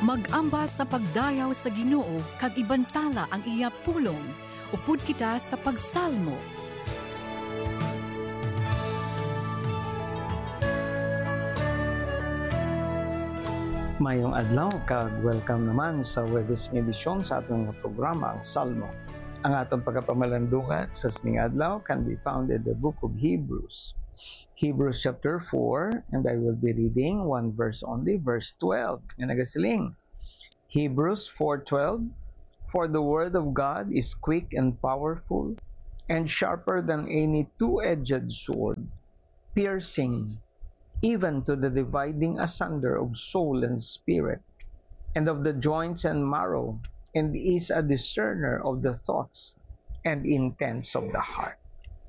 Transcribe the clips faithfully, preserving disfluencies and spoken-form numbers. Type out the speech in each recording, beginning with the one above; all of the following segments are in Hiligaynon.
Mag-ambas sa pagdayaw sa Ginoo kag ibantala ang iya pulong. Upod kita sa pagsalmo. Mayong adlaw kag welcome naman sa Huwebes nga edisyon sa aton nga programa, ang Salmo. Ang aton pagapamalandungan sa sining adlaw can be found in the book of Hebrews. Hebrews chapter four, and I will be reading one verse only, verse twelve, nga nagasiling, Hebrews four twelve, "For the word of God is quick and powerful, and sharper than any two-edged sword, piercing even to the dividing asunder of soul and spirit, and of the joints and marrow, and is a discerner of the thoughts and intents of the heart."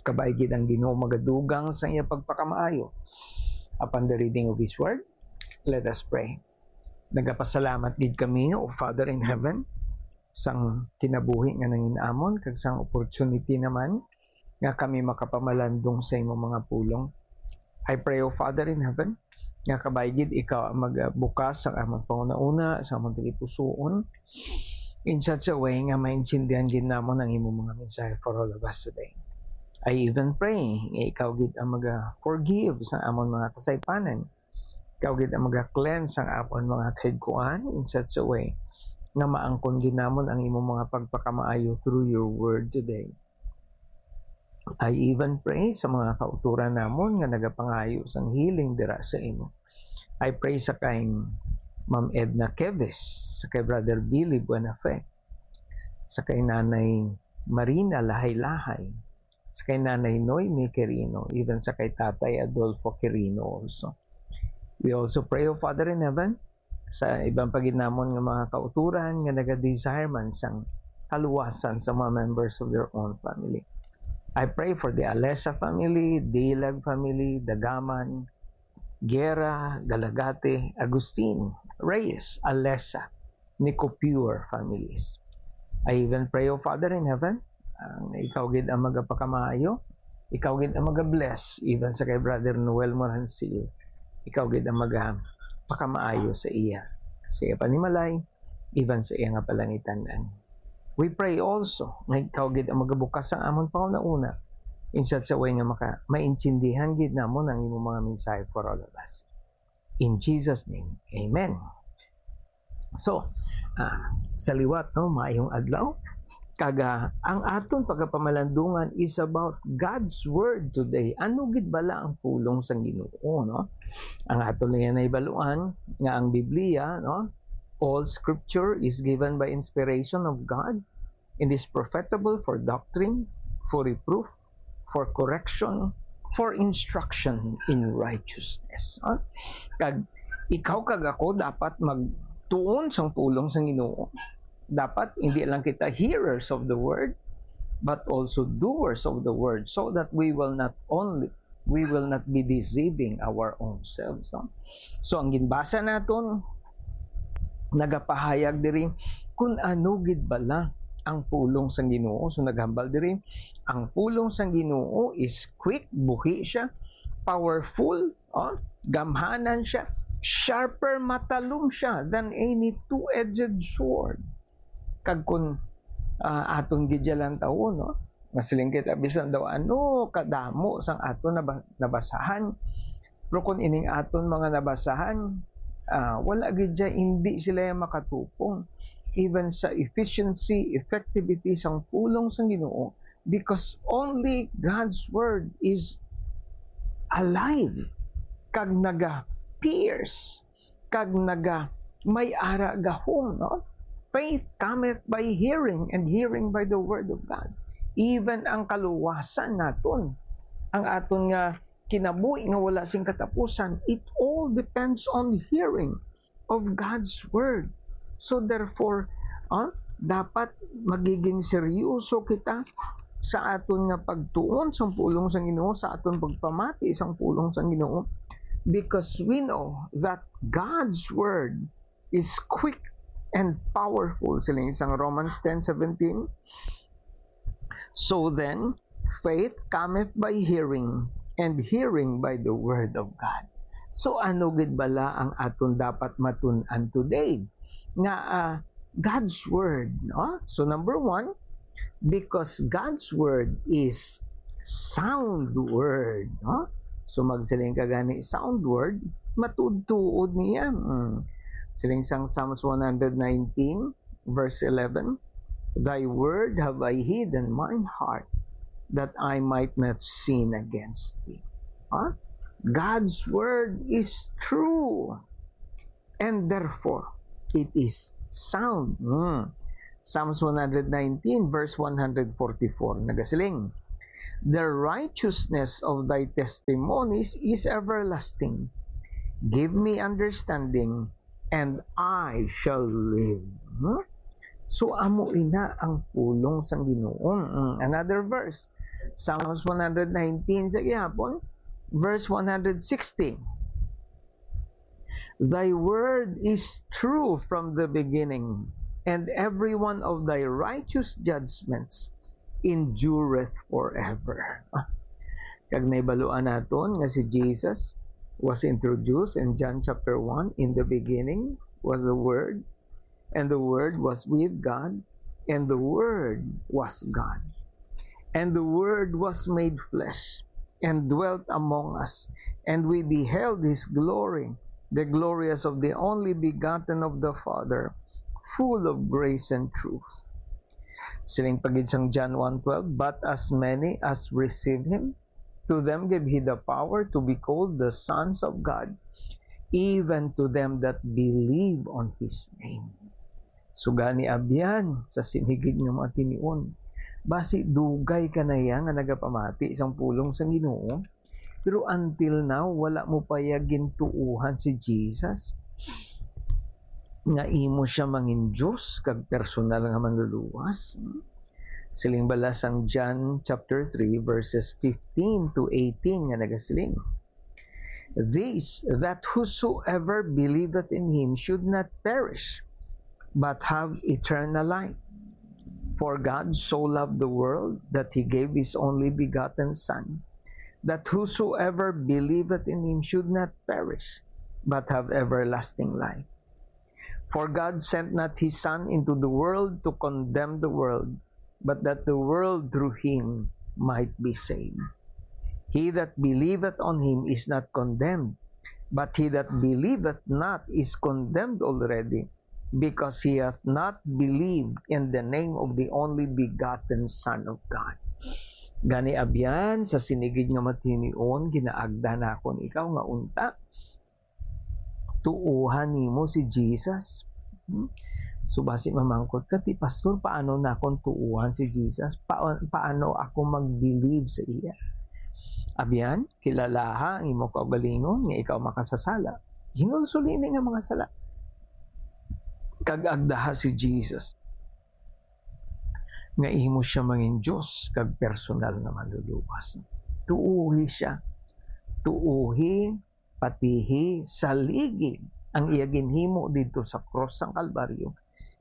Kabay gid ang Ginoo magadugang sa iya pagpakamaayo. Upon the reading of His word, let us pray. Nagapasalamat gid kami, O Father in Heaven, sang kinabuhi nga nanginamon kag sang opportunity naman nga kami makapamalandong sa imo mga pulong. I pray, O Father in Heaven, nga kabay gid ikaw ang magbukas sa amon panghunahuna, sa amon tagipusoon, in such a way nga maintindihan gid namon ang imo mga mensahe for all of us today. I even pray nga ikaw gid ang maga-forgive sa amon mga kasaypanan. Ikaw gid ang maga-cleanse ang amon mga kahigkuan in such a way nga maangkon gid namon ang imo mga pagpakamaayo through your word today. I even pray sa mga kautoran namon nga nagapangayo sang healing dira sa imo. I pray sa kay Ma'am Edna Keves, sa kay Brother Billy Buenafe, sa kay Nanay Marina Lahay-Lahay, sa kay Nanay Noemi Quirino, even sa kay Tatay Adolfo Quirino also. We also pray, O Father in Heaven, sa iban pa gid namon nga mga kautoran nga naga-desire man sang kaluwasan sa mga members of their own family. I pray for the Alesa family, Dilag family, Dagaman, Guerra, Galagate, Agustin, Reyes, Alesa, Nicopure families. I even pray, O Father in Heaven, ang ikaw gid ang magapakamaayo, ikaw gid ang maga-bless, even sa kay Brother Noel Moransil, ikaw gid ang magapakamaayo sa iya, sa iya panimalay, even sa iya nga palangitan-an. We pray also nga ikaw gid ang magabukas sang amon panghunahuna, in such a way nga maka-, maintindihan gid namon ang imo mga mensahe for all of us. In Jesus' name, amen. So, ah, sa liwat, no, maayong adlaw. Kag, ah, ang aton pagapamalandungan is about God's Word today. Ano gid bala ang pulong sang Ginoo, no? Ang aton lang yan nahibaluan nga ang Biblia, no? All scripture is given by inspiration of God and is profitable for doctrine, for reproof, for correction, for instruction in righteousness. Ah? Kag ikaw kag ako dapat magtuon sang pulong sang Ginoo. Dapat hindi lang kita hearers of the word, but also doers of the word, so that we will not only, we will not be deceiving our own selves, no? So, ang ginbasa naton, nagapahayag diri kung ano gid bala ang pulong sang Ginoo. So, naghambal diri, ang pulong sang Ginoo is quick, buhi siya, powerful, oh, gamhanan siya, sharper, matalom siya than any two-edged sword. Kag kun, ah, aton gid siya lantawon, no? Masiling kita, bisan daw ano kadamo sang aton naba-, nabasahan, pero kun ining aton mga nabasahan, ah, wala gid siya, hindi sila makatupong even sa efficiency, effectivity sang pulong sang Ginoo, because only God's word is alive kag naga-pierce kag naga may ara gahom, no? Faith cometh by hearing, and hearing by the word of God. Even ang kaluwasan naton, ang aton nga kinabuhi nga wala sing katapusan, it all depends on hearing of God's word. So therefore, ah, dapat magiging seryoso kita sa aton nga pagtuon sang pulong sang Ginoo, sa aton pagpamati sang pulong sang Ginoo, because we know that God's word is quick and powerful, siling sang Romans ten seventeen. So then, faith cometh by hearing, and hearing by the word of God. So ano gid bala ang aton dapat matun-an today? nga, ah, God's word, no? So, number one, because God's word is sound word, no? So, magsiling ka gani, sound word, matuod-tuod niya. Mm. Siling sang Psalms one hundred nineteen, verse eleven, "Thy word have I hid in mine heart, that I might not sin against thee." Ha? God's word is true, and therefore it is sound. Hmm. Psalms one hundred nineteen, verse one hundred forty-four, nagasiling, "The righteousness of thy testimonies is everlasting. Give me understanding, and I shall live." Hmm? So, amo ina ang pulong sang Ginoo. Mm, another verse, Psalms one hundred nineteen sa gihapon, verse one hundred sixty. "Thy word is true from the beginning, and every one of thy righteous judgments endureth forever." Ah, kag nahibaluan naton nga si Jesus was introduced in John chapter one, "In the beginning was the Word, and the Word was with God, and the Word was God. And the Word was made flesh, and dwelt among us, and we beheld his glory, the glory as of the only begotten of the Father, full of grace and truth." Siling pa gid sang John one twelve, "But as many as receive him, to them gave he the power to be called the sons of God, even to them that believe on his name." So gani, abyan, sa sini gid nga mga tinion, basi dugay ka na ya nga nagapamati sang pulong sang Ginoo, pero until now, wala mo pa ya gintuohan si Jesus nga imo siya mangin Dios kag personal nga manluluwas. Siling bala sang John chapter three, verses fifteen to eighteen, nga nagasiling, "This, that whosoever believeth in him should not perish, but have eternal life. For God so loved the world that he gave his only begotten Son, that whosoever believeth in him should not perish, but have everlasting life. For God sent not his Son into the world to condemn the world, but that the world through him might be saved. He that believeth on him is not condemned, but he that believeth not is condemned already, because he hath not believed in the name of the only begotten Son of God." Gani, abyan, sa sini gid nga mga tinion, ginaagda nakon ikaw nga unta tuohan nimo si Jesus. Hmm? So, basi mamangkot ka, "Ti, Pastor, paano nakon tuohan si Jesus? Pa-, paano ako mag-believe sa iya?" Abyan, kilalaha ang imo kaugalingon nga ikaw makasasala. Hinulsol ini nga mga sala. Kag agdaha si Jesus nga imo siya mangin Dios kag personal nga manluluwas. Tuohi siya. Tuohi, patihi, saligi ang iya ginhimo didto sa krus sang Kalbaryo,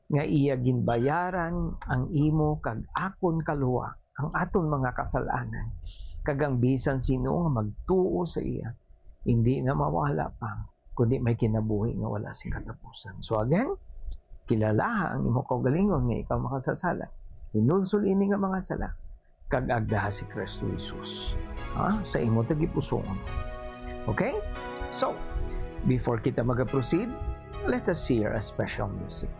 nga iya ginbayaran ang imo kag akon kaluwa, ang aton mga kasalanan, kag ang bisan sino nga magtuo sa iya, hindi na mawala pa, kundi may kinabuhi nga wala sing katapusan. So again, kilalaha ang imo kaugalingon nga ikaw makasasala. Hinulsol ini nga mga sala, kag agdaha si Kristo Jesus, ha, sa imo tagipusoon. Okay? So, before kita mag-proceed, let us hear a special music.